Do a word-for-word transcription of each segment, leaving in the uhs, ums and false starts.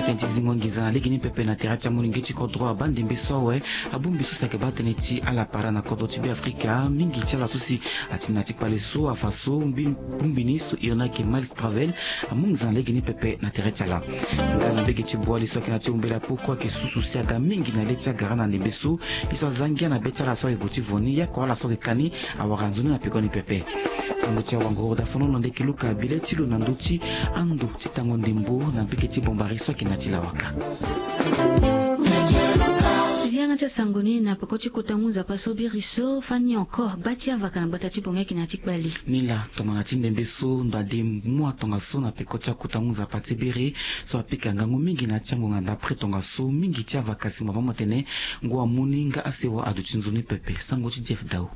Tënë ti zingo nginza na lege ni pepe na tere ti amolenge ti kodro abaa ndembe so awe. Abongbi so si ayeke baa tënë ti ala para na kodro ti Beafrika mingi ti ala so si ati na ya ti kpale so afa so mbi bongbi ni so iri ni ayeke Miles Travel amu nginza na lege ni pepe na tere ti ala. Nga na mbege ti Boali so ayeke na ya ti Ombela Poko ayeke susu si aga mingi na le ti agara na ndembe so. Ye so aza ngia na be ti ala so ayeke gue ti vo ni, ye oko ala so ayeke ka ni awara nzoni na peko ni pepe. Sango ti awanguru dafono na ndeke luka bile ti lo na ndö ti ando ti tango ndembo na mbege ti Bombari so ayeke na ya ti lawaka. Ti yanga ti asango ni na peko ti kota ngu nzapa so biri so fani encore gba ti avaka na gbata ti bongi ayeke na ya ti kpale. Ni laa tongana ti ndembe so ndo ade mua tongaso na peko ti akota ngu nzapa ti biri so apika ngangu mingi na ya ti angonga ndapre tongaso mingi ti avaka si mo baa mo tene ngu amu ni nga asewa aduti nzoni pepe. Sango ti Jeff Dau.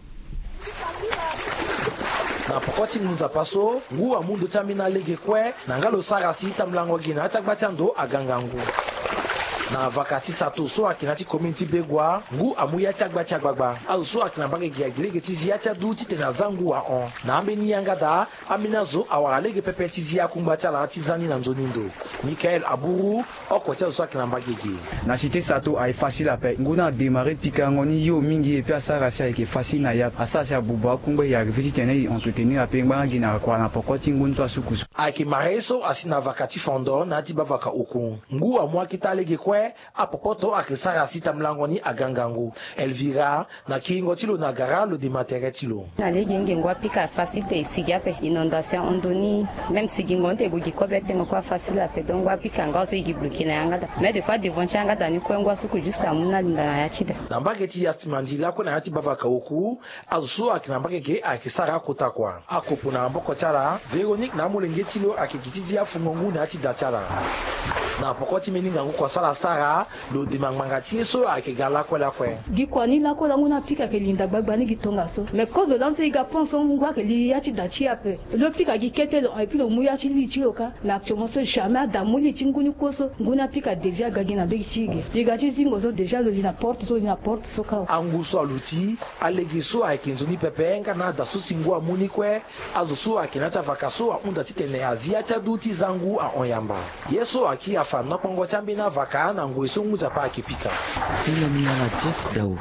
Na poko ti ngu nzapa so ngu amu ndö ti ambeni alege kue na nga lo sara si tambulango gi na ya ti agba ti ando aga ngangu. Na vaka ti sato so ayeke na ya ti komine ti Begua ngu amu ya ti agba ti agbagba. Azo so ayeke na mbage gi agi lege ti zi ya ti adu titene aza ngu ahon. Na ambeni yanga daa ambeni azo awara lege pepe ti zi akungba ti ala ti za ni na nzoni ndo. Michael Aburu, oko ti azo so ayeke na mbage gi. Na cité sato aye facile ape. Ngu ni adémarré pikango ni yo mingi epui asara si ayeke facile na ya. Asara si abuba akungba e arrivé titene e entretenir ape ngbanga gi na kua na poko ti ngu ni so asuku so. Ayeke maré so asi na vaka ti fondo na ya ti bavaka oku. Ngu amu akita lege kue. Apopoto ayeke sara si tambulango ni aga ngangu. Elvira, na kiringo ti lo na gara lo dema tere ti lo. Na lege ngingo apika facile te e sigi ape. Inondation ahon ndo ni. Même sigingo ni te e gue gi kobe tengo kue afacile ape. Donc ngu apika nga so e gi bloqué na yanga daa. Mais des fois devant ti yanga daa ni kue ngu asuku juste amu ni alinda na ya ti daa. Na mbage ti Yastimandi lakue na ya ti bavaka oku. Azo so ayeke na mbage ge ayeke sara akota kua. Akopo na maboko ti ala, Véronique na amolenge ti lo ayeke gi ti zi afungo ngu na ya ti da ti ala. Na poko ti mbeni ngangu kua so ala sara, lo dema ngbanga ti ye so ayeke ga lakue lakue. Gi kua ni lakue lango ni apika ayeke linda gbagba ni gi tongaso. Mais kozo lani so e ga pense so ngu ayeke li ya ti da ti e ape. Lo pika gi kete lo hon epui lo mu ya ti li ti lo kâ. Mais actuellement so jamais ada mu li ti ngu ni kue so. Ngu ni apika devi aga gi na mbege ti e ge. E ga ti zingo so déjà lo li na porte so, lo li na porte so kâ. Angu so aluti. Alege so ayeke nzoni pepe nga na ada so si ngu amu ni kue. Azo so ayeke na ya ti avaka so ahunda titene azi ya ti adu ti za ngu ahon yamba. Ye so akiri afa na nokpongo ti ambeni avaka na ngoi so ngu nzapa ayeke pika. Sila ni ala Jeff Dao.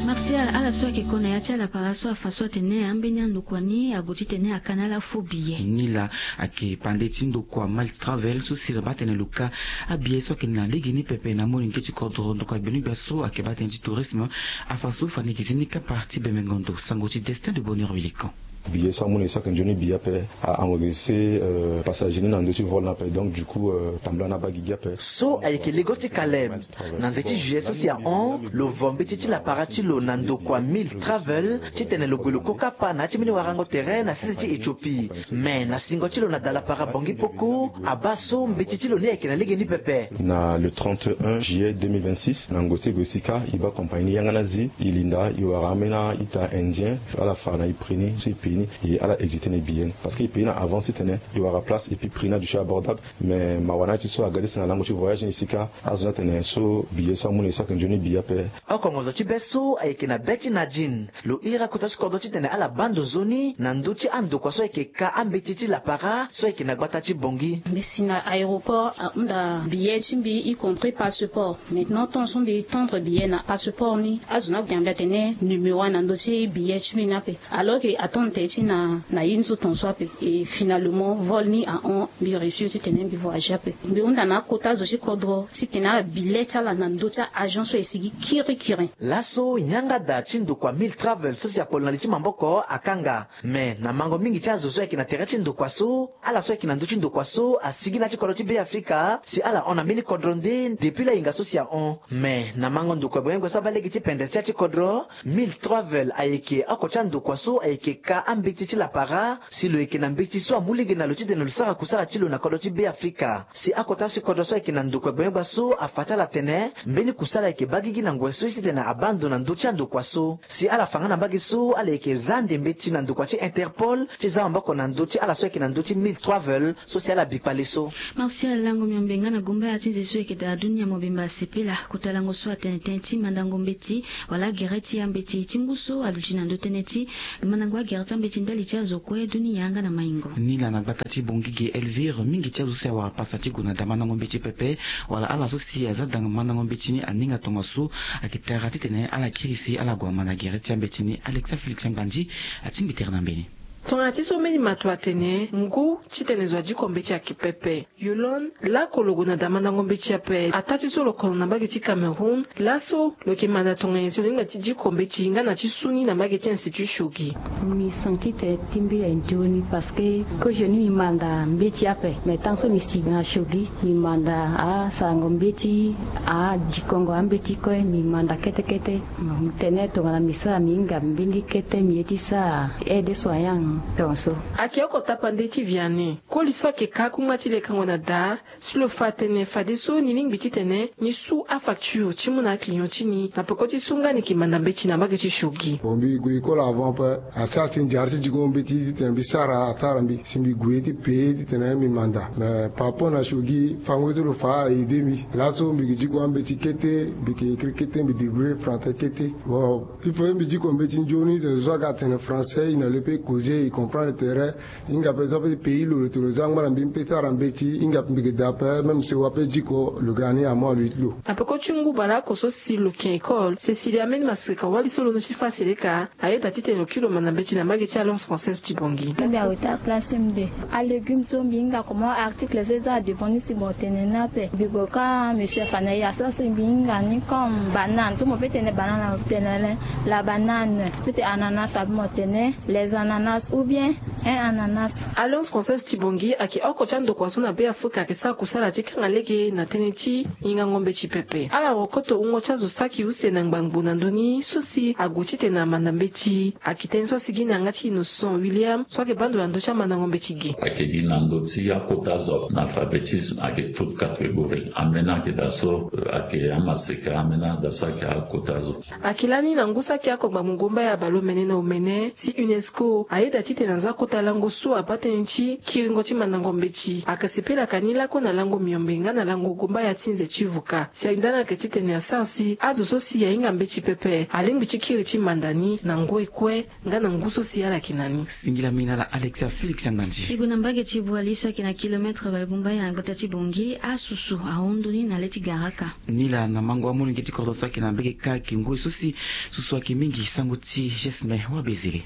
Martial, ala so ayeke ko na ya ti ala para so afa so atene ambeni andokua ni ague titene aka na ala faux billet. Ni laa ayeke pande ti ndokua Miles Travel so si lo baa tene lo ka abillet so ayeke na lege ni pepe na molenge ti kodro ndokua gbeni gbia so ayeke baa tënë ti tourisme. Afa so fani gi ti ni kapa ti bembengo ndo sango ti Destin de Bonheur Milikan. Billet so amu na e so ayeke nzoni billet ape a-enregistrer passager ni na ndö ti vol ni ape. Donc du coup tambula ni abaa gigi ape. So ayeke lego ti Caleb. Na nze ti juillet so si ahon lo vo mbeti ti lapara ti lo na ndokua Miles Travel titene lo gue lo ko kapa na ya ti mbeni warango tere na sese ti Éthiopie. Mais na singo ti lo na da lapara Bangui Poko abaa so mbeti ti lo ni ayeke na lege ni pepe. Na le trente et un juillet deux mille vingt-six na ngoi ti e gue si kâ e baa compagnie ni yanga ni azi e linda e wara ambeni a-ita indien ala fa na e prix ni so e paye ni. E ala exécuter na e billet ni parce que e paye ni na avance titene e wara place et puis prix ni aduti abordable. Mais mawa na ala ti so aga ti si na lango ti voyage ni si kâ azo ni atene so billet so amu na e so ayeke nzoni billet ape. Oko ngonzo ti be so ayeke na be ti Nadine. Lo iri akota ti kodro titene ala baa ndo nzoni na ndö ti andokua so ayeke ka ambeti ti lapara so ayeke na gbata ti Bangui. Mbi si na aéroport ahunda billet ti mbi y compris passeport. Maintenant tant so mbi tendre billet na passeport ni azo ni ague yamba atene numéro na ndö ti billet ti mbi ni ape. Alors que attendre tene ti na na ye ni so ton so ape. Et finalement vol ni ahon. Mbi refuse titene mbi voyager ape. Mbi hunda na akota zo ti kodro titene ala billet ti ala na ndö ti a-agent so e sigi kirikiri. Laso yanga da ti ndokua Miles Travel so si apolo na li ti maboko akanga. Mais na mango mingi ti azo so ayeke na tere ti ndokua so ala so ayeke na ndö ti ndokua so asigi na ya ti kodro ti Beafrika si ala hon na mbeni kodro nde depuis lahinga so si ahon. Mais na mango ndokua gbengbe so abaa lege ti pendre ti ya ti kodro Miles Travel ayeke oko ti andokua so ayeke ka ambeti ti lapara si lo yeke na mbeti so amu lege na lo titene lo sara kusala ti lo na kodro ti Beafrika. Si akota ti kodro so ayeke na ndokua gbengbe so afa ti ala atene mbeni kusala ayeke baa gigi na ngoi so titene abaa ndo na ndö ti andokua so. Si ala fa nga na mbage so ala yeke za ande mbeti na ndokua ti Interpol ti za maboko na ndö ti ala so ayeke na ndö ti Miles Travel so si ala bikpale so. Martial Lango Miombe nga na gumbaya ti nze so e yeke daa dunia mobimba asepela kota lango so atene tënë ti mandango mbeti wala agere ti ambeti ti ngu so aluti na ndö tënë ti mandango agere ti Mbeti ndali ti azo kue duni yanga na maingo. Ni laa na gbata ti Bangui ge Elvire, mingi ti azo so si awara pasa ti gue na da mandango mbeti pepe, wala ala so si aza danga mandango mbeti ni aninga tongaso, ayeke tara titene ala kiri si ala gue ama na gere ti ambeti ni. Alexa Félix Nganzi atingbi tere na mbeni. Tongana ti so mbeni mato atene ngu titene zo adiko mbeti ayeke pepe. Yolande, lakolo gue na da mandango mbeti ape, ataa ti so lo kono na mbage ti Cameroun. Laso lo yeke manda tongana nyen si lo lingbi na ti diko mbeti nga na ti su ni na mbage ti Institut Shogi? Mi senti tene ti mbeni nzoni parce que kozoni mi manda mbeti ape, mais tant so mi si na Shogi, mi manda asarango mbeti, adikongo ambeti kue, mi manda kete kete. Mi tene tongana mi sara, mi hinga mbeni kete, mi ye ti sara aide soignant tongaso. Ayeke oko tapande ti Vianney, koli so ayeke ka akungba ti lekango na da. Si lo fa atene fadeso ni lingbi titene ni su afacture ti mu na aclient ti ni na peko ti so nga ni yeke manda mbeti na mbage ti Shogi. Bon, mbi gue école avant ape, asara si nzara ti diko mbeti titene mbi sara atara mbi si mbi gue ti paye titene mbi manda. Mais par rapport na Shogi, fango ti lo fa a aide mbi. Laso mbi yeke diko ambeti kete, mbi yeke écrit kete, mbi débrouiller français kete. Bon, il faut mbi diko mbeti nzoni tene zo so ayeke atene français, il ne le peut causer, il comprend le terrain. Hinga pe so ape ti pays lo, lo tene lo za angba na mbi, mbi pe ti sara mbeti, hinga pe mbi yeke daa ape, même si wape diko lo ga ni amu aluit lo. Na peko ti ngu baleoko so si lo yeke école, Cécilia ambeni masirika wali so lo no ti fa seleka, ayeda titene lo kiri lo manda mbeti na mbage ti Alliance Française ti Bangui. Mbi awuta classe M deux. Alégume so mbi hinga comment article so eza adevant ni si mo tene ni ape. Mbi gue ka monsieur Fanaye asara si mbi hinga ni comme banane. So mo pe tene banane, mo tene le la banane. Peut-être ananas abi mo tene. Les ananas ou bien un ananas. Alliance Française ti Bangui ayeke oko ti andokua so na Be Afrika ayeke sara kusala ti kanga lege na tënë ti hingango mbeti pepe. Ala rokoto wungo ti azo saki use na ngbangbo na ndö ni so si ague titene amanda mbeti. Ayeke tënë so asigi na yanga ti Innocent William so ayeke baa ndo na ndö ti amandango mbeti ge. Ayeke gi na ndö ti akota zo, analphabétisme ayeke toute catégorie. Ambeni ayeke daa so, euh, ayeke amaseka, ambeni daa so ayeke akota zo. Ayeke lani na ngu saki oko gbangbo ngomba ya baleomene na omene si UNESCO ayeda titene aza kota lango so abaa tënë ti kiringo ti mandango mbeti. Ayeke sepelaka ni lakue na lango miombe nga na lango ngomba ya ti nze ti vuka. Si alinda ni ayeke titene asara si azo so si ahinga mbeti pepe alingbi ti kiri ti manda ni na ngoi kue nga na ngu so si ala yeke na ni. Singila mingi na ala Alexia Félix Anganzi. E gue na mbage ti Boali so ayeke na kilometre bale bumba ya na gbata ti Bangui, asusu ahon ndoni na le ti Garaka. Ni laa na mango amolenge ti kodro so ayeke na mbage kâ ayeke ngoi so si susu ayeke mingi. Sango ti Gesme Wabezele.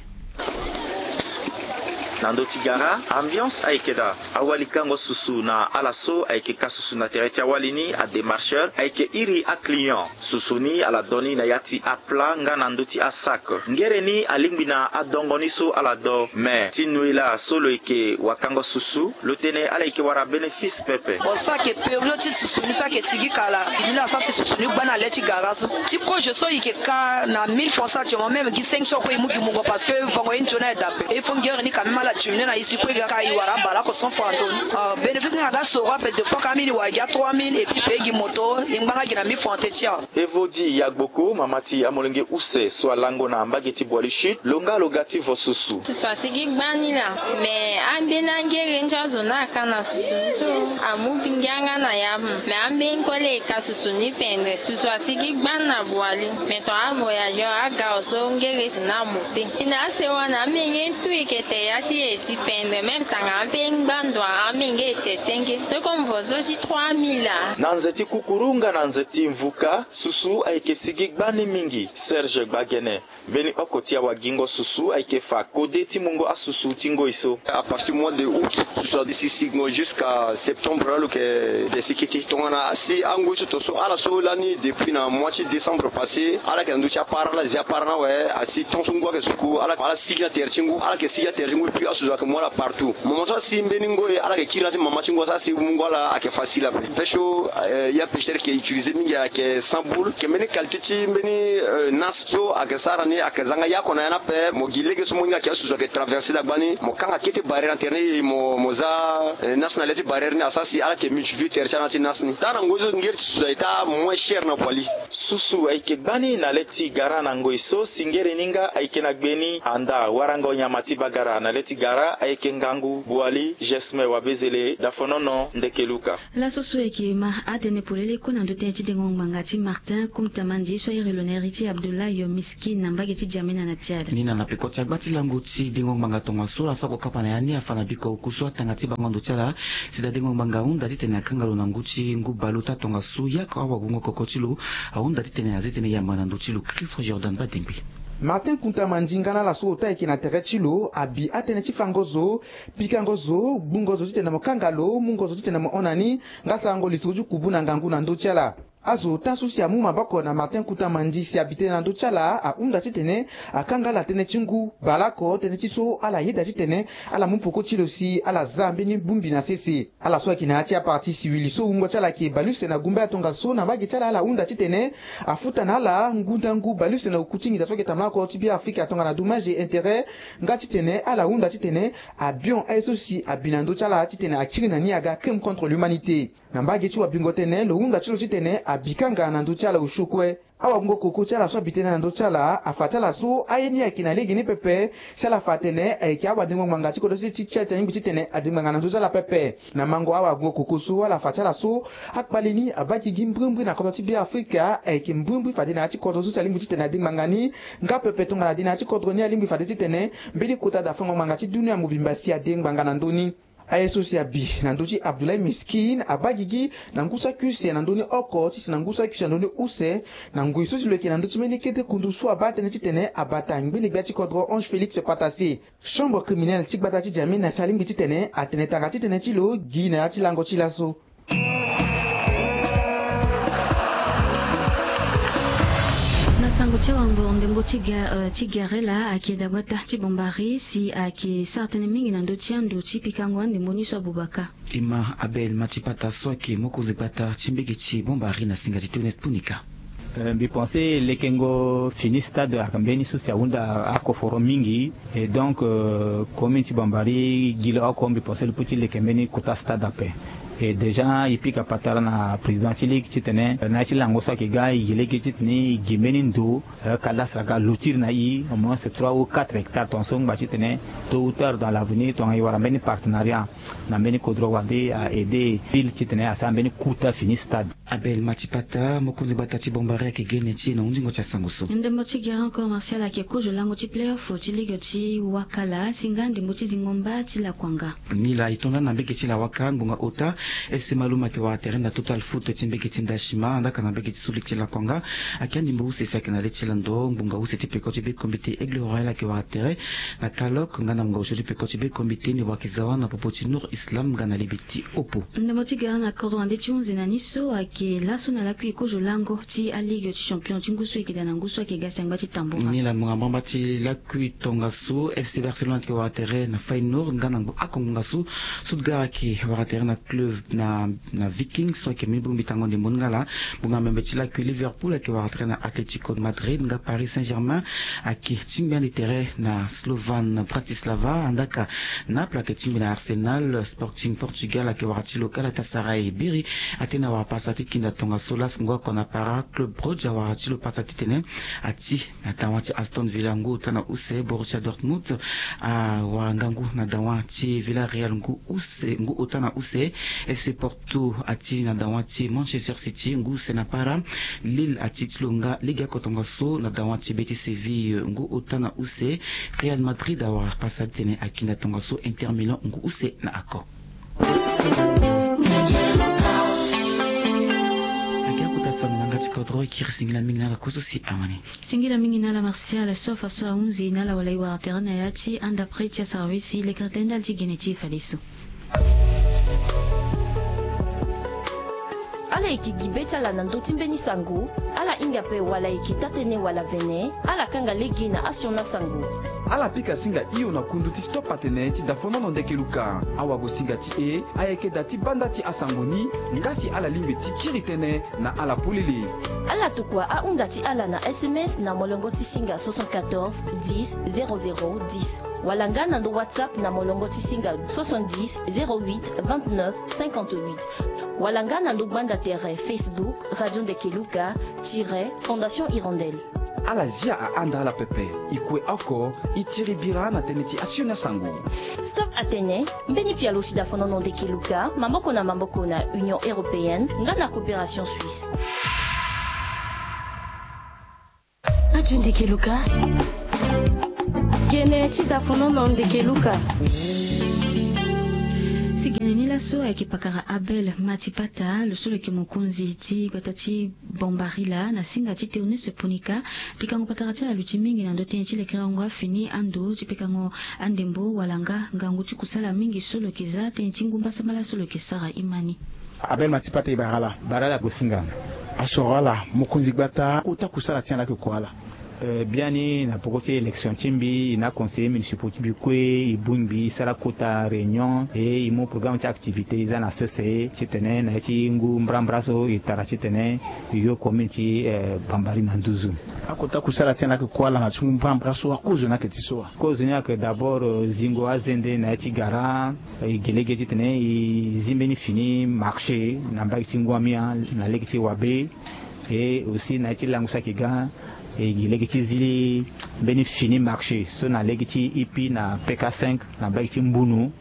Na ndö ti gara, ambiance ayeke daa. Awali kango susu na ala so ayeke ka susu na tere ti awali ni, adémarcheur, ayeke iri aclient. Susu ni ala do ni na ya ti aplat nga na ndö ti asac. Ngere ni alingbi na adongo ni so ala do. Me ti noe laa so lo yeke wakango susu, lo tene ala yeke wara bénéfice pepe. Bon, so ayeke période ti susu ni so ayeke sigi kala. Mbi laa asara si susu ni gba na le ti gara so. Ti kozo so e yeke ka na mille francs so actuellement, même gi cinq cents kue e mu gi mungo parce que vongo ye nzoni aye daa ape. Il faut ngere ni quand même ala diminuer na e si kue e ga ka e wara abale oko cent francs na ndö ni. Ah, bénéfice ni aga soro ape, deux fois ka ambeni e wara gi a trois mille et puis payer gi moto, e ngba nga gi na mille francs te ti awe. Evodi Yagboko, mama ti amolenge use so alango na mbage ti Boali Sud, lo nga lo ga ti vo susu. Susu asigi gbani laa, me ambeni angere ndia zo ni aka na susu ni so amu ngia nga na ya. Me ambeni kue laa e ka susu ni pendere. Susu asigi gbani na Boali, me tongana avoyageur aga so ngere susu ni amu te. E na asewa na amenge ntu e yeke tere ya ti e si pendere, même tanga ambeni ngbando ambeni nge e te senge. So comme vo so ti trois mille laa. Na nze ti kukuru nga na nze ti mvuka, susu ayeke sigi gbani mingi. Serge Gbagene, mbeni oko ti awagingo susu ayeke fa kode ti mungo asusu ti ngoi so. À partir du mois de août, susu asi sigingo jusqu'à septembre laa lo yeke si kete. Tongana asi angoi so to so ala so lani depuis na mois ti décembre passé, ala yeke na ndö ti apara, ala zi apara ni awe, asi tant so ngu ayeke suku, ala, ala sigi na tere ti ngu, ala yeke sigi na tere ti ngu, et puis asusu ayeke mu ala partout. Moment so asi mbeni ngoi, ala yeke kiri na ya ti mama ti ngu, asi mu ngu ala ayeke facile ape. Pêche so, eh, ya pêcheur yeke utiliser mingi ayeke sans boule, ayeke mbeni qualité ti mbeni, eh, nas so ayeke sara ni, ayeke za nga ya oko na ya ni ape, mo gi lege so mo hinga ayeke asusu ayeke traverser dagbani, mo kanga kete barrière na tere ni, mo, mo za, eh, nas na le ti barrière ni, asara si ala yeke multiplier tere ti ala na ya ti nas ni. Taa na ngoi so ngere ti susu ayeke taa moins cher na Boali. Susu ayeke gbani na le ti gara na ngoi so si ngere ni nga ayeke na gbe ni anda warango nyama ti bagara na le ti Gara ayeke ngangu Boali Gesme Wabezele, Dafonono Ndekeluka. Laso so e yeke ma atene polele kue na ndö tënë ti dengo ngbanga ti Martin Kumtamandi so airi lo na iri ti Abdoulaye Miskin na mbage ti Djamena na Tchad. Ni na na peko ti agba ti lango ti dengo ngbanga tongaso laso akokapa na ya ni afa na biko oku so atanga ti bango ndo ti ala. Si daa dengo ngbanga ahunda titene akanga lo na ngu ti ngu baleota tongaso yako awagungo koko ti lo ahunda titene azi tënë yamba na ndö ti lo. Christophe Jordan Badengbe. Martin Kunta Mandinga na ala so ota ayeke na tere ti lo abi atënë ti fango zo, pikango zo, gbungo zo titene mo kanga lo, mungo zo titene mo hon na ni, nga sarango lisoro ti kubu na ngangu na ndö ti ala. Azo ota so si amu maboko na Martin Kunta Mandi si abi tënë na ndö ti ala ahunda titene akanga ala tënë ti ngu baleoko tënë ti so ala yeda titene ala mu peko ti lo si ala za mbeni bongbi na sese. Ala so ayeke na ya ti aparti siwili so wungo ti ala ayeke baleuse na gumba ya tongaso na mbage ti ala ala hunda titene afuta na ala ngu ndangu baleuse na oku ti nginza so ayeke tambula oko ti Beafrika tongana dommage et intérêt. Nga titene ala hunda titene abion aye so si abi na ndö ti ala titene akiri na ni aga crime contre l'humanité. Na mbage ti wabingo tënë lo hunda ti lo titene abi kanga na ndö ti ala osio kue. Awagungo koko ti ala so abi tënë na ndö ti ala afa ti ala so aye ni ayeke na lege ni pepe. Si ala fa atene ayeke awadengo ngbanga ti kodro ti ti ti alingbi titene adengo ngbanga na ndö ti ala pepe. Na mango awagungo koko so ala fa ti ala so akpale ni abaa gigi mbrimbri na kodro ti Beafrika ayeke mbrimbri fade na ya ti kodro so si alingbi titene adengo ngbanga ni. Nga pepe tongana ade na ya ti kodro ni alingbi fade titene mbeni kota dafango ngbanga ti dunia mobimba si adengo ngbanga na ndö ni. Aye so si abi na ndö ti Abdoulaye Miskin abaa gigi na ngu saki use na ndö ni oko ti si na ngu saki use na ndö ni use na ngoi so si lo yeke na ndö ti mbeni kete kundu so abaa tënë titene abata ngbene gbia ti kodro Ange Félix Patassé. Chambre criminelle ti gbata ti Djamena si alingbi titene atene tanga ti tënë ti lo gi na ya ti lango ti laso. Na sango ti awango ndembo ti ga, eh, ti Garela ayeke dagbata ti Bombari si ayeke sara tënë mingi na ndö ti ando ti pikango andembo ni so abubaka. E ma Abel Matipata so ayeke mokonzi gbata ti mbege ti Bombari na singa ti Théoneste Punika. Eh, mbi pense lekengo fini stade ayeke mbeni so si ahunda akoforo mingi. Et donc, euh, commune ti Bambari gi lo oko mbi pense lo peut ti leke mbeni kota stade ape. Et déjà e pika patara na président ti ligue titene, euh, na ya ti lango so ayeke ga e gi lege titene e gi mbeni ndo, euh, cadastre aga lotir na e au moins trois ou quatre hectares, tongaso ngba titene tôt ou tard dans l'avenir tongana e wara mbeni partenariat na mbeni kodro wande a aider ville titene asara mbeni kota fini stade. Abel Matipata, mokonzi gbata ti Bombari ayeke gene ti e na hundingo ti asango so. Ndembo ti Garant Corps Martial ayeke kozo lango ti playoff ti ligue ti Wakala si nga ndembo ti zingo mba ti Lakuanga. Ni laa e to nda na mbege ti Lawaka ngbonga ota, F C Maluma ayeke wara tere na Total Foot ti mbege ti Ndashima, andaka na mbege ti Sulik ti Lakuanga. Ayeke andembo use si ayeke na le ti lando ngbonga use ti peko ti be kombi ti Aigle Royal ayeke wara tere na Kalok, nga na ngbonga osio ti peko ti be kombi ti Niwaki Zawa na popo ti Nour Islam nga na libi ti Opo. Ndembo ti Garant na kodro wande ti hunzi na ni so ayeke laso na lakui kozo lango ti aligue ti champion ti ngu so ayeke daa na ngu so ayeke ga si angba ti tambura. Ni laa ngbonga mbamba ti lakui tongaso, F C Barcelone ayeke wara tere na Feyenoord nga na ngbonga oko ngbonga so Stuttgart ayeke wara tere na club na, na Viking so ayeke mbeni bongbi tango ndembo ni nga laa. Ngbonga membe ti lakui Liverpool ayeke wara tere na Atletico de Madrid nga Paris Saint-Germain ayeke tingbi ande tere na Slovan Bratislava, andaka Naples ayeke tingbi na Arsenal. Sporting Portugal ayeke wara ti lo Galatasaray. Biri atene awara pasa ti kinda tongaso laso ngu oko na Para. Club Brugge awara ti lo pasa titene ati na dawa ti Aston Villa ngu ota na use. Borussia Dortmund awara ngangu na dawa ti Villarreal ngu use, ngu ota na use. F C Porto ati na dawa ti Manchester City ngu use na Para. Lille ati ti lo nga legeoko tongaso na dawa ti be ti Séville ngu ota na use. Real Madrid awara pasa titene akinda tongaso Inter Milan ngu use na oko. Ayeke akota sango na yanga ti kodro e kiri. Singila mingi na ala kue so si awani. Singila mingi na ala Martial so afa so ahunzi na ala wala e wara tere na ya ti anda prix ti aservice lekere tënë ndali ti gene ti e fadeso. Ala yeke gi be ti ala na ndö ti mbeni sango, ala hinga ape wala e yeke taa-tënë wala vene, ala kanga lege na asioni asango. Ala pika singa hio na kundu ti stop atene ti dafonono ndeke luka. Awagosinga ti e ayeke da ti banda ti asango ni, nga si ala lingbi ti kiri tënë na ala polele. Ala tokua ahunda ti ala na S M S na molongo ti singa soixante-quatorze dix zéro zéro dix, wala nga na ndo WhatsApp na molongo ti singa soixante-dix zéro huit vingt-neuf cinquante-huit, wala nga na ndo gbanda tere Facebook Radio Ndeke Luka tiret Fondation Hirondelle. Ala zia ahanda ala pepe. E kue oko, e tiri bira na tënë ti asioni asango. Stop atene, mbeni pialo ti dafonono ndeke luka maboko na maboko na Union Européenne nga na Coopération Suisse. Radio Ndeke Luka. Gene ti dafonono ndeke luka. Si gene ni laso ayeke pakara Abel Matipata, lo so lo yeke mokonzi ti gbata ti Bambarila na singa ti Théoneste Punika. Pikango patara ti ala luti mingi na ndö tënë ti lekerengo afini ando ti pekango andembo wala nga ngangu ti kusala mingi so lo yeke za tënë ti ngu mbasambala so lo yeke sara imani. Abel Matipata, e bara ala. Bara ala gosinga. Asoro ala, mokonzi gbata, kota kusala ti ala ayeke kua ala? Eh, biani na poko ti élection ti mbi, e na conseillers municipaux ti mbi kue, e bongbi, e sara kota réunion, e e mu programme ti activité, e za na sese titene na ya ti ngu mbrambra so e tara titene e yo commune ti, eh, Bambari na nduzu. Akota kusala ti ala ayeke kua ala na ti ngu mbrambra so, akozo ni ayeke ti so wa? Kozo ni ayeke d'abord, eh, zingo azende na ya ti gara, eh, e gi lege titene e zi mbeni fini marché na mbage ti ngu amia na lege ti wabe. Et aussi na ya ti lango so ayeke ga, e gi lege ti zi mbeni fini marché so na lege ti ipi na P K cinq na mbage ti mbunu.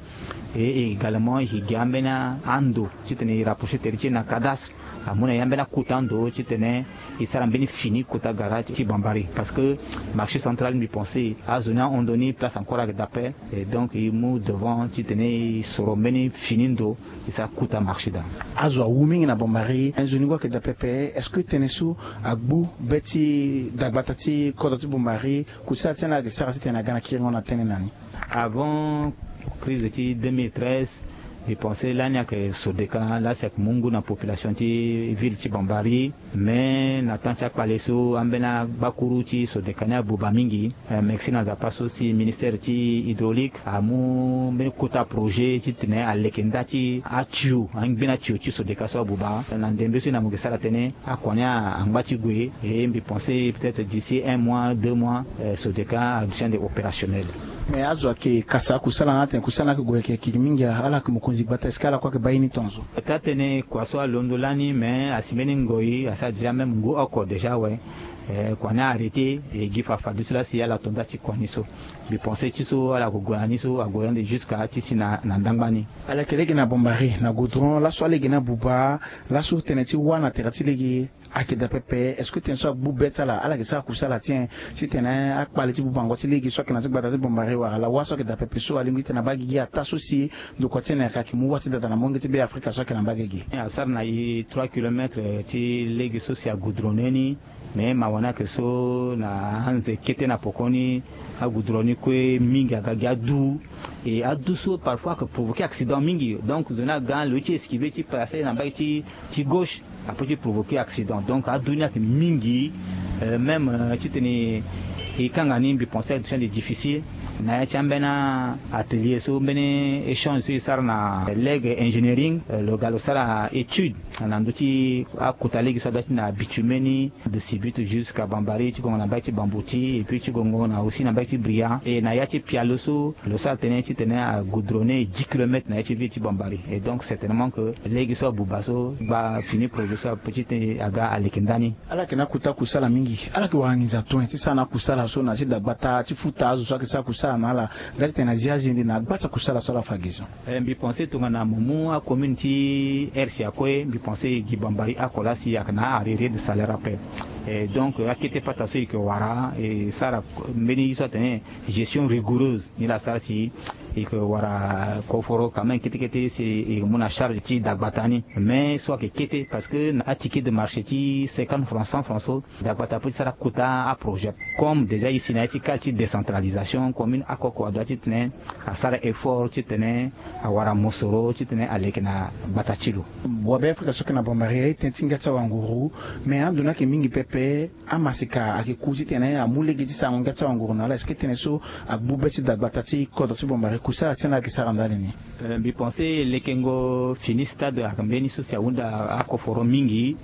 Et également e gi ambeni ando titene e rapprocher tere ti e na cadastre, amu na e ambeni akota ando titene e sara mbeni fini kota gara ti Bambari, parce que marché central, mbi pense azo ni ahon ndo ni, place encore ayeke daa ape. Et donc e mu devant titene e soro mbeni fini ndo e sara kota marché daa. Azo awu mingi na Bambari, nzoni ngu ayeke daa pepe. Est-ce que tënë so agbu be ti dagbata ti kodro ti Bambari, kusala ti ala ayeke sara titene aga na kiringo na tënë na ni? Avant crise ti deux mille treize, mbi pense lani ayeke Sodeka laa si ayeke mu ngu na population ti ville ti Bambari. Mais na temps ti akpale so, ambeni agbakuru ti Sodeka ni abuba mingi. Eh, merci na Nzapa so si ministère ti hydraulique amu mbeni kota projet titene aleke nda ti atio, angbeni atio ti Sodeka so abuba. Na ndembe so e na mo yeke sara tënë, akua ni angba ti gue. Et mbi pense peut-être d'ici un mois, deux mois, eh, Sodeka aduti ande opérationnel. Mais azo ayeke kasa akusala ni atene kusala ni ayeke gue ayeke kiki mingi, ala yeke mokonzi gbata, est-ce que ala kue ayeke baa ye ni tongaso? Taa tënë kua so alondo lani, mais asi mbeni ngoi, asi adia même ngu oko déjà awe. Eh, kua ni arrêté, e gi fafadeso laa si ala to nda ti kua ni so. Mbi pense ti so ala yeke gue na ni so ague ande jusqu'à ti si na, na ndangba ni. Ala yeke lege na Bambari na goudron, laso alege ni abuba, laso tënë ti wâ na tere ti lege ayeke daa pepe. Est-ce que tënë so agbu be ti ala, ala yeke sara kusala ti en titene akpale ti bubango ti lege so ayeke na ti gbata ti Bambari wala lawa so ayeke daa pepe so alingbi titene abaa gigi ataa so si ndokua ti en ayeke mu wâ ti dada na molenge ti Be Afrika so ayeke na mbage ge? Asara na e trois kilomètres ti lege so si agoudronné ni. Mais mawa ni ayeke so na anze kete na pokoni, agoudron ni kue mingi aga gi adu. Et adu so parfois ayeke provoquer accident mingi. Donc zo ni aga lo ye ti esquiver ti passer na mbage ti, ti gauche, apeut ti provoquer accident. Donc adu ni ayeke mingi. Euh, même, euh, titene e kanga ni, mbi pense aduti ande difficile. Na ya ti ambeni atelier so, mbeni échange so e sara na Leg Engineering, euh, lo ga lo sara étude na ndö ti akota lege so aduti na bitume ni, de Sibut jusqu'à Bambari, ti gongo na mbage ti Bamboti, et puis ti gongo na aussi na mbage ti Bria. Et na ya ti pialo so lo sara tënë titene agoudronné dix kilomètres na ya ti ville ti Bambari. Et donc certainement que lege so abuba so, gba fini projet so apeut titene aga aleke ndani. Ala yeke na akota kusala mingi. Ala yeke wara nginza toe ti sara na akusala so na ti dagbata ti futa azo so ayeke sara kusala na ala, nga titene azia azende na gba ti akusala so ala fa gi so. Eh, mbi pense tongana mo mu acommune ti R C A kue, mbi pense e gi Bambari oko laa si ayeke na arrearé de salaire ape. Eh, donc akete pata so e yeke wara, e sara mbeni ye so atene gestion rigoureuse, ni laa asara si e yeke wara koforo quand même kete kete si e yeke mu na charge ti dagbata ni. Mais so ayeke kete parce que na aticket de marché ti cinquante francs, cent francs so, dagbata apeut ti sara kota aprojet. Comme déjà e si na ya ti cadre ti décentralisation, commune oko oko adoit titene asara effort titene awara mosoro titene aleke na gbata ti lo. Wabe Afrika so ayeke na Bambari aye tënë ti ngia ti awanguru, mais ando ni ayeke mingi pepe. Amaseka ayeke ku titene amu lege ti sarango ngia ti awanguru na ala. Est-ce que tënë so agbu be ti dagbata ti kodro ti Bambari, kusala ti ala ayeke sara ndali ni? Eh, mbi pense lekengo fini stade ayeke mbeni so si ahunda akoforo mingi.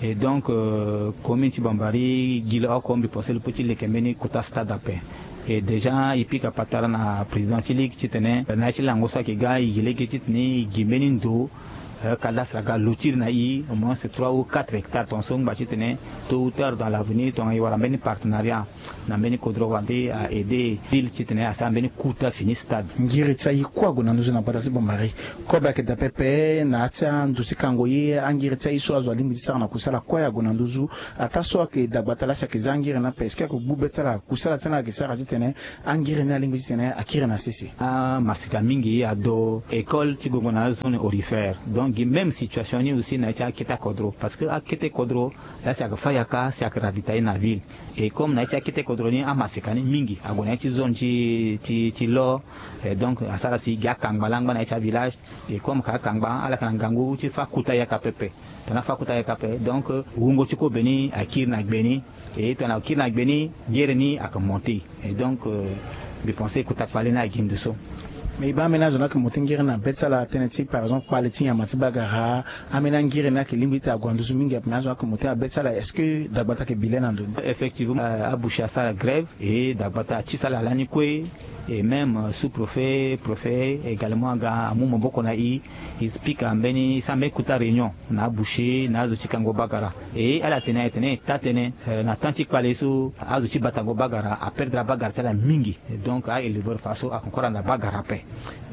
Et donc, euh, commune ti Bambari gi lo oko, mbi pense lo peut ti leke mbeni kota stade ape. Et déjà e pika patara na président ti ligue titene na ya ti lango so ayeke ga e gi lege titene e gi mbeni ndo, Kala sara ga lotiri na i au moins trois ou quatre hectares tongaso ngba titene tôt ou tard dans l'avenir tongana i wara mbeni partenariat na mbeni kodro wande a aider ville titene asara mbeni kuta fini stade. Ngiri ti aye kue ague na nduzu na gbata ti Bombari. Kobe ayeke daa pepe na ya ti andu ti kango ye angiri ti aye so azo alingbi ti sara na kusala kue ague na nduzu. Ataa so ayeke dagbata laa si ayeke za angiri ni ape est-ce que ayeke gbu be ti ala kusala ti ala ayeke sara titene angiri ni alingbi titene akiri na sese. Amasika mingi ado école ti gongo na azone aurifère donc gi même situation ni aussi na ya ti akete kodro parce que akete kodro laa si ayeke fâ yaka si ayeke ravitailler na ville. Et comme na ya ti akete kodro ni amasika ni mingi ague na ya ti zone ti ti ti lor. Et donc asara si gi akangba laa angba na ya ti avillage. Et comme ka akangba ala yeke na ngangu ti fâ kuta yaka pepe. Tongana fâ kuta yaka ape donc wungo ti kobe ni akiri na gbe ni. Et tongana akiri na gbe ni gere ni ayeke monter. Et donc mbi pense kota kpale ni agi ndo so. Mais e baa ambeni azo ni ayeke monter ngere na be ti ala tënë ti par exemple kpale ti nyama ti bagara. Ambeni angere ni ayeke lingbi ti ague na nduzu mingi ape mais azo ni ayeke monter na be ti ala est-ce que dagbata ayeke bi le na ndo ni? Effectivement aboucher asara grève. Et dagbata atisa ala lani kue. Et même sous-préfet, préfet également aga amu maboko na e. E pika mbeni e sara mbeni kuta réunion na aboucher na azo ti kango bagara. Et ala tene ala tene e taa tënë na temps ti kpale so azo ti batango bagara aperdre abagara ti ala mingi. Donc a-éleveur fa so ayeke encore na bagara ape.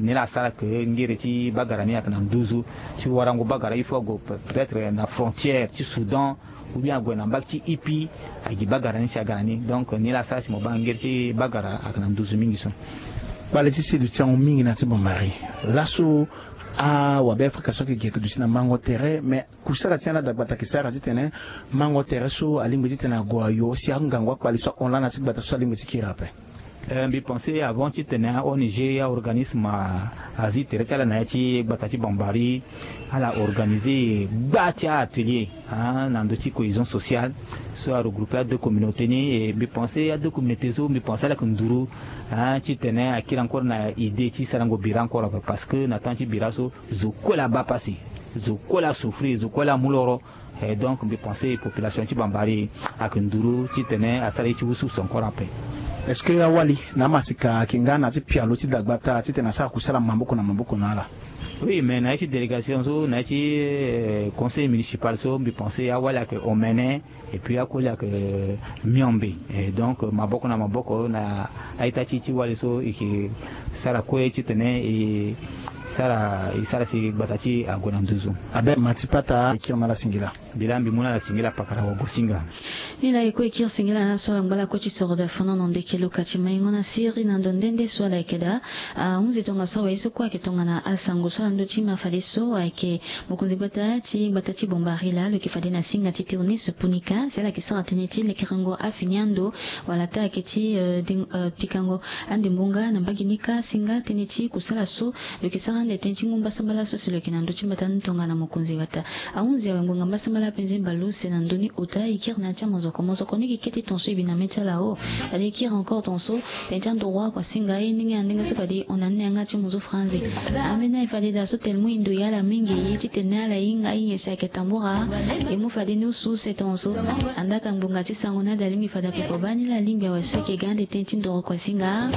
Ni laa asara ke ngere ti bagara ni ayeke na nduzu ti warango bagara il faut ague peut-être na frontière ti Soudan ou bien ague na mbage ti Ipi. Agi bagara ni si aga na ni donc ni laa asara si mo baa ngere ti bagara ayeke na nduzu mingi so. Kpale ti si duti ango mingi na ti Bombari. Laso awabe afrika so ayeke gi ayeke duti na mango tere mais kusala ti ala dagbata ayeke sara titene mango tere so alingbi titene ague ayo si angangu akpale so ahon laa na ti gbata so alingbi ti kiri ape. Mbi pense avant titene a-ong, a-organisme azi tere ti ala na ya ti gbata ti Bombari. Ala organiser gba ti a-atelier na ndö ti cohésion sociale so aregrouper adeux communauté ni. E mbi pense adeux communauté so mbi pense ala yeke nduru titene akiri encore na idée ti sarango bira encore ape parce que na temps ti bira so zo kue laa abaa pasi. Zo kue laa asouffrir zo kue laa amu loro. Et donc mbi pense population ti Bombari ayeke nduru titene asara ye ti wusuwusu encore ape. Est-ce que awali na amasika ayeke nga na ya ti pialo ti dagbata titene asara kusala maboko na maboko na ala? Oui mais na ya ti délégation so na ya ti conseil municipal so mbi pense awali ayeke omene. Et puis akoli ayeke miombe. Et donc maboko na maboko na a-ita ti ti wali so e ke sara kue titene e sara e sara si gbata ti e ague na nduzu. Abe ma ti pata e kiri na ala singila. Mbi laa mbi mu na ala singila pakara wagosinga. Ni laa e kue e kiri singila na ala so ala ngba lakue ti soro daa fana na ndeke luka ti maingo na siri na ndo nde nde so ala yeke daa. Ahunzi tongaso awe ye so kue ayeke tongana asango so ala ndö ti ma fadeso ayeke mokonzi gbata ti gbata ti Bombari laa lo yeke fade na singa ti Théoneste Punika si ala yeke sara tënë ti lekerengo afini ando wala taa ayeke ti pikango andembonga na mbage ni kâ singa tënë ti kusala so lo yeke sara ande tënë ti ngu mbasambala so si lo yeke na ndö ti mbata ni tongana mokonzi gbata. Ahunzi awe ngbonga mbasambala apenze mbalu use na ndö ni ota e kiri na ya ti amozoko mozoko ni gi kete tonso e bi na mê ti ala o. Fade e kiri encore tonso tënë ti androit kua singa ye ndenge na ndenge so fade e hon na ni na yanga ti mozo franzi. Ambeni aye fade daa so tene mu e ndo ya ala mingi ye titene ala hinga ahinga si ayeke tambura. E mu fade ni use use tonso. Andaa ka ngbonga ti sango ni ade alingbi fade ape kua baa ni laa alingbi awe so e yeke ga ande tënë ti ndoro kua singa.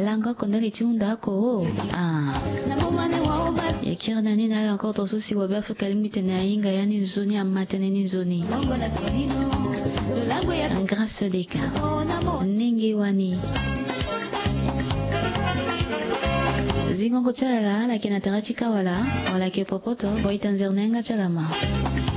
Lango oko ndali ti hunda oko o. Ah. E kiri na ni na ala encore tonso si wabe afrika alingbi tene ahinga ya ni nzoni ama tënë ni nzoni. Grâce deka. Ndenge wani. Zingongo ti ala ala yeke na tere ti kawala wala yeke popoto. Boyita nzere na yanga ti ala ma.